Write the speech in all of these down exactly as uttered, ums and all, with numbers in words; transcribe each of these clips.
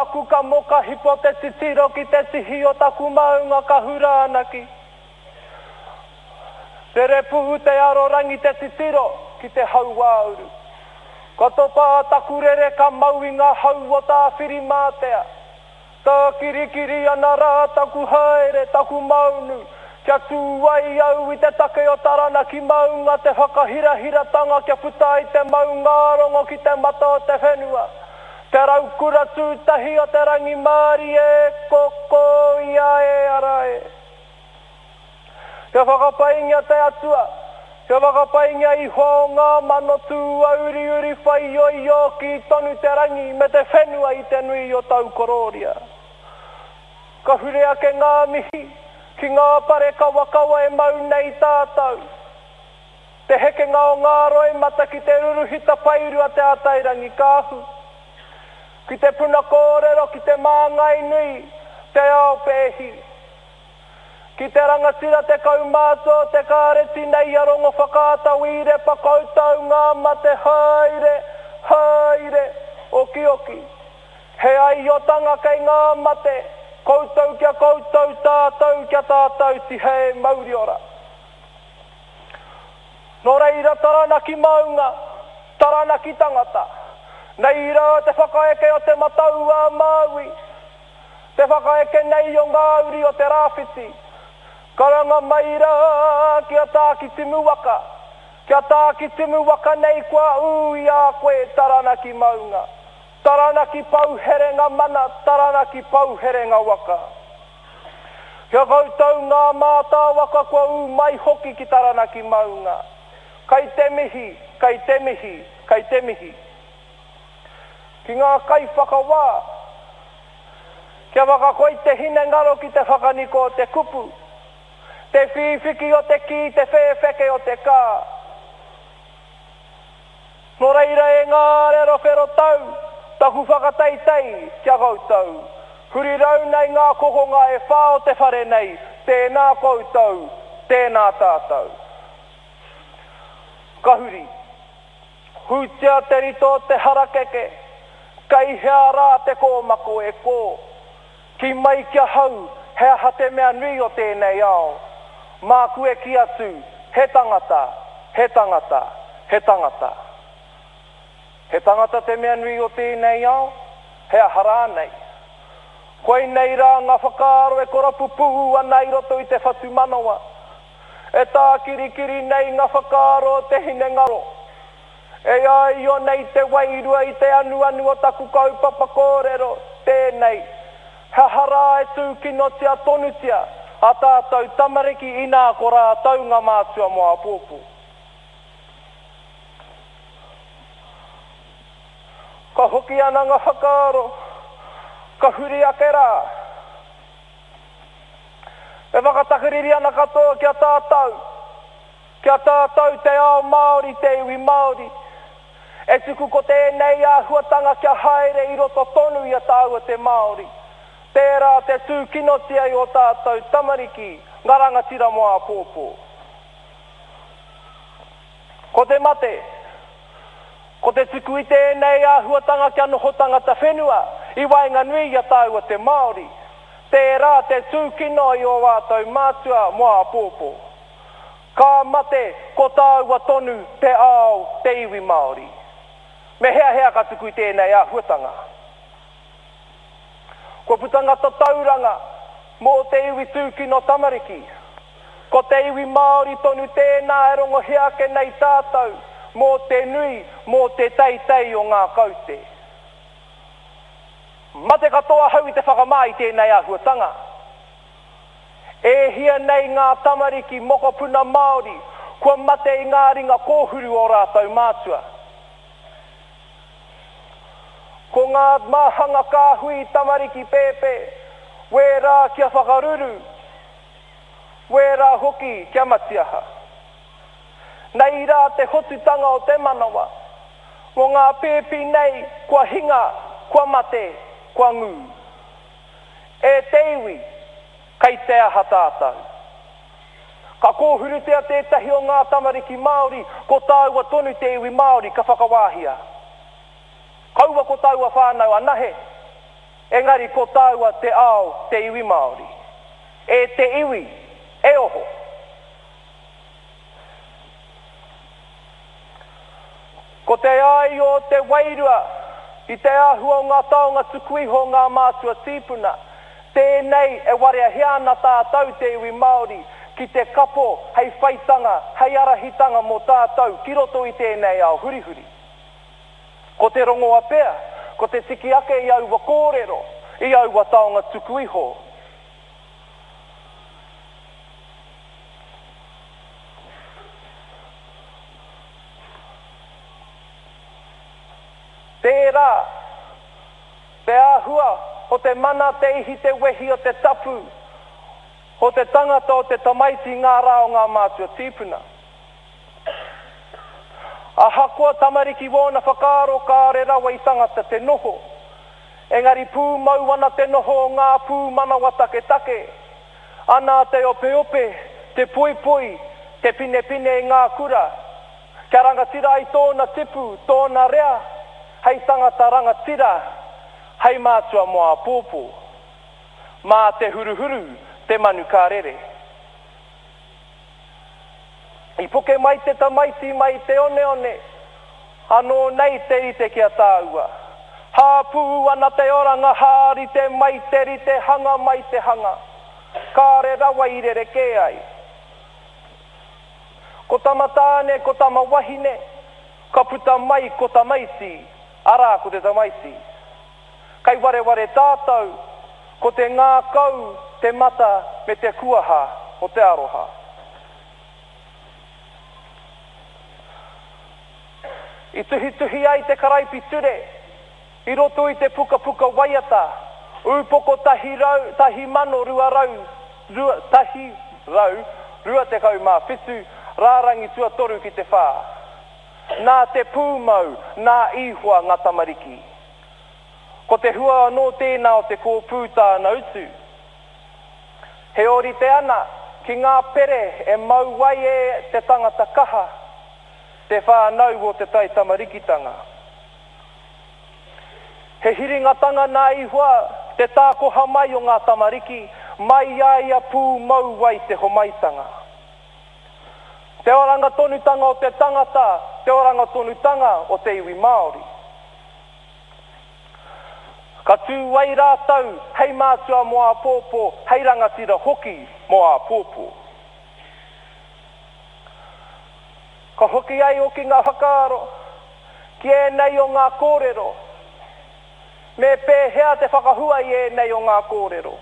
aku kamo ka hipo te titiro ki te tihi o taku maunga ka hura ana ki Rere pū te arorangi te titiro ki te hauāuru. Ka topa a taku rere ka mau i ngā hau o Tāwhirimātea. Tākirikiri ana rā taku haere, taku maunu, kia tū ai au i te take o Taranaki maunga te whakahirahiratanga kia puta ai te maungārongo ki te mata o te whenua. Te raukura tūtahi o te rangimārie, ko ko ia e ara e. Kia whakapaingia te Atua, kia whakapaingia iho o ngā mano tūāuriuri whaioio kī tonu te rangi me te whenua i te nui o tau korōria. Ka hure ake ngā mihi ki ngā pare kawakawa e mau nei tātou. Te hekenga o ngā roimata ki te ruruhi tapairu a Te Atairangikaahu. Ki te puna kōrero, ki te māngai nui, te ao pēhi. Ki te rangatira te kaumātua o te kāreti nei a Rongowhakaata Wīrepa koutou ngā mate haere, haere, okioki. He aiotanga kei ngā mate, koutou kia koutou, tātou kia tātou tihei mauriora. Nō reira Taranaki maunga, Taranaki tangata. Nei rā te whakaeke o Te Matau-a-Māui. Te whakaeke nei o ngā uri o te rāwhiti. Karanga mai rā ki a Tākitimu waka. Ki a Tākitimu waka nei kua ū i a koe Taranaki maunga. Taranaki pou herenga mana, Taranaki pou herenga waka. Kia koutou ngā mātāwaka kua ū mai hoki ki Taranaki maunga. Kei te mihi, kei te mihi, kei te mihi. Ki ngā kaiwhakawā, kia whakakoi te hinengaro ki te whakaniko o te kupu, te whīwhiki o te kī, te whēwheke o te kā. Nō reira e ngā arero whero tau, taku whakateitei ki a koutou. Huri rau nei ngā kokonga e whā o te whare nei, tēnā koutou, tēnā tātou. Ka huri. Hūtia te rito o te harakeke, kei hea rā te kōmako e kō? Kī mai ki ahau, he aha te mea nui o tēnei ao? Māku e kī atu, he tangata, he tangata, he tangata. He tangata te mea nui o tēnei ao? He aha rānei? Koinei rā ngā whakaaro e korapupū ana i roto i te whatumanawa. E tākirikiri nei ngā whakaaro o te hinengaro. E āio nei te wairua i te anuanu o taku kaupapa kōrero, tēnei, he aha rā e tūkinotia tonutia a tātou tamariki inā ko rātou ngā mātua mō āpōpō. Ka hoki ana ngā whakaaro, ka huri ake rā. E whakatakariri ana katoa ki a tātou, ki a tātou te ao Māori, te iwi Māori. E tuku ko tēnei āhuatanga kia haere i roto tonu i a tāua te Māori. Tērā te tūkinotia i ō tātou tamariki, ngā rangatira mō āpōpō. Ko te mate, ko te tuku i tēnei āhuatanga kia noho tangata whenua i waenganui i a tāua te Māori. Tērā te tūkino i ō rātou mātua mō āpōpō. Ka mate ko tāua tonu te ao, te iwi Māori. Me heahea ka tuku i tēnei āhuatanga. Kua puta ngā tatauranga mō te iwi tūkino tamariki. Ko te iwi Māori tonu tēnā e rongohia ake nei tātou mō te nui, mō te teitei o ngā kaute. Mate katoa ahau i te whakamā i tēnei āhuatanga. E hia nei ngā tamariki mokopuna Māori kua mate i ngā ringa kōhuru o rātou mātua. Ko ngā māhanga kāhui tamariki pēpē, wērā kia whakaruru, wērā hoki kia matiaha. Nei rā te hotutanga o te manawa, mō ngā pēpi nei kua hinga, kua mate, kua ngū. E te iwi, kei te aha tātou? Ka kōhurutia tētahi o ngā tamariki Māori, ko tāua tonu te iwi Māori ka whakawāhia. Kaua ko taua whānau anahe. Engari ko tāua te ao, te iwi Māori. E te iwi, e oho. Ko te ai o te wairua, i te āhua o ngā taonga tuku iho ngā mātua tīpuna, tēnei e wareahia ana tātou te iwi Māori, ki te kapo hei whaitanga, hei arahitanga mō tātou ki roto i tēnei ao hurihuri. Ko te rongoa pea, ko te tiki ake i aua kōrero, i aua taonga tuku iho. Tērā, te āhua o te mana, te ihi, te wehi o te tapu, o te tangata o te tamaiti ngā rā o ngā mātua tīpuna. Ahakoa tamariki wōna whakaaro kāre rawa i tangata te noho, engari pūmau ana te noho o ngā pūmanawa taketake, ana te opeope, te poipoi, te pinepine i ngā kura, kia rangatira ai tōna tipu, tōna rea, hei tangata rangatira, hei mātua mō āpōpō. Mā te huruhuru, te manu ka rere. I puke mai te tamaiti mai te oneone, anō nei te rite ki a tāua. Hāpū ana te oranga, hārite mai te rite, hanga mai te hanga. Kāre rawa i rerekē ai. Ko tama tāne, ko tama wahine, ka puta mai ko tamaiti, arā ko te tamaiti. Kai wareware tātou, ko te ngākau, te mata me te kuaha o te aroha. I tuhituhi ai te karaipiture, i roto i te pukapuka waiata, ūpoko tahi rau, tahi mano rua rau, rua, tahi rau, rua tekau mā whitu, rārangi tuatoru ki te whā. Nā te pūmau, nā Ihoa ngā tamariki. Ko te hua anō tēnā o te kōpū tāna utu. He ōrite ana ki ngā pere e mau ai e te tangata kaha, te whānau o te taitamarikitanga. He hiringatanga nā Ihoa te tākoha mai o ngā tamariki, mai i a ia pūmau ai te homaitanga. Te oranga tonutanga o te tangata, te oranga tonutanga o te iwi Māori. Ka tū ai rātou hei mātua mō āpōpō, hei rangatira hoki mō āpōpō. Ka hoki ai hoki ngā whakaaro, ki ēnei o ngā kōrero. Me pēhea te whakahua i ēnei o ngā kōrero.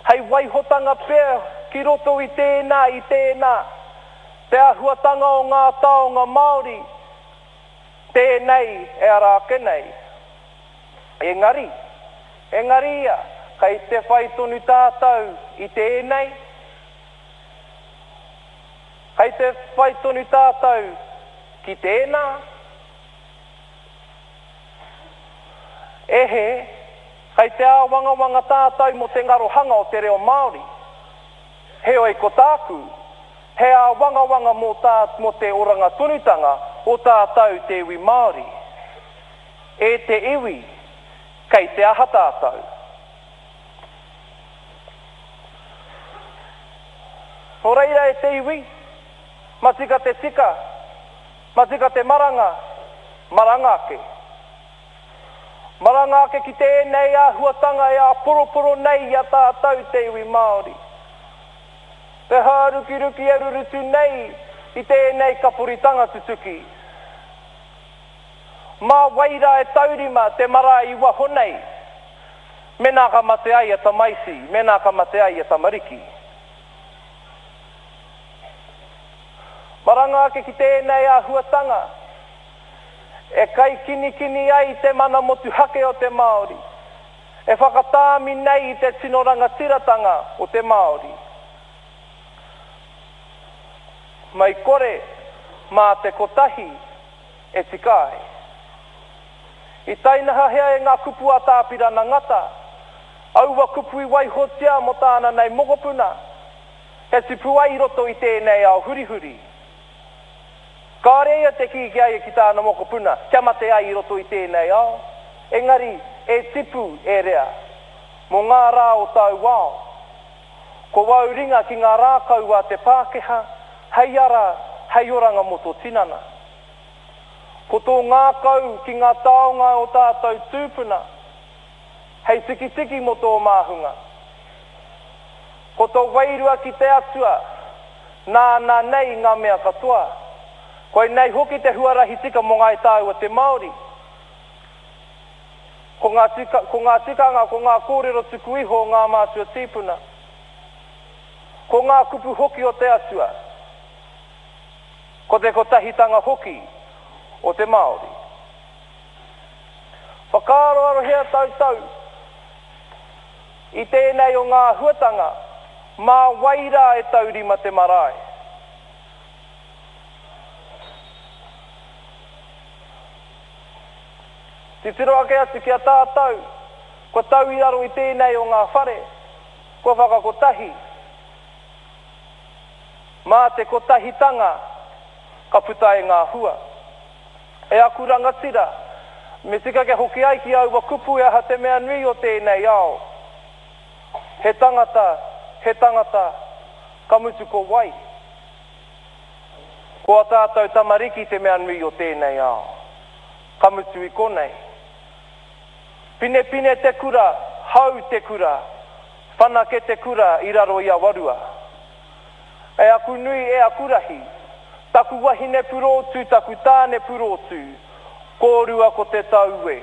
Hei waihotanga pea ki roto i tēnā, i tēnā, te āhuatanga o ngā taonga Māori, tēnei e ara ake nei. Engari, engari ia, kei te whai tonu tātou i tēnei, kei te whai tonu tātou ki tēnā. Ehe, kei te āwangawanga tātou mō te ngarohanga o te reo Māori. Heoi ko tāku, he āwangawanga mō, tā, mō te oranga tonutanga o tātou te iwi Māori. E te iwi, kei te aha tātou. Nō reira e te iwi, matika te tika, matika te maranga, maranga ake. Maranga ake ki tēnei āhuatanga e āporoporo nei i a tātou te iwi Māori. Te hārukiruki e rurutu nei i tēnei kaporitanga tutuki. Mā waira e taurima te marae i waho nei, mēnā ka mate ai a tamaiti, mēnā ka mate ai a tamariki. Maranga ake ki tēnei āhuatanga, e kaikinikini ai te mana motuhake o te Māori, e whakatāmi nei i te tino rangatiratanga o te Māori. Mai kore, mā te kotahi e tika ai. I tainahahea e ngā kupu a Tāpirana Ngata, aua kupu i waihotia mō tāna nei mokopuna, he tipu ai i roto i tēnei ao hurihuri. Kāre ia te kī ki a ia ki tāna mokopuna, kia mate ai i roto i tēnei ao, engari e tipu, e rea, mō ngā rā o tāu ao. Ko wāu ringa ki ngā rākau a te Pākehā, hei ara, hei oranga mō tō tinana. Ko tō ngākau ki ngā taonga o tātou tūpuna, hei tikitiki mō tō māhunga. Ko tō wairua ki te Atua, nāna nei ngā mea katoa. Koinei hoki te huarahi tika mō ngāi tāua te Māori. Ko ngā tika, ko ngā tikanga, ko ngā kōrero tuku iho o ngā mātua tīpuna. Ko ngā kupu hoki o te Atua. Ko te kotahitanga hoki o te Māori. Whakaaroarohia tautau i tēnei o ngā āhuatanga, mā wai rā e taurima te marae? Titiro ake atu ki a tātou, kua tau i raro i tēnei o ngā whare, kua whakakotahi. Mā te kotahitanga ka puta ai ngā hua. E aku rangatira, me tika kia hoki ai ki aua kupu e aha te mea nui o tēnei ao. He tangata, he tangata, ka mutu ko wai? Ko a tātou tamariki te mea nui o tēnei ao. Ka mutu i konei. Pinepine te kura, hau te kura, whanake te kura i raro i Awarua. E aku nui, e aku rahi, taku wahine purōtū, taku tāne purōtū, kōrua ko te tau e.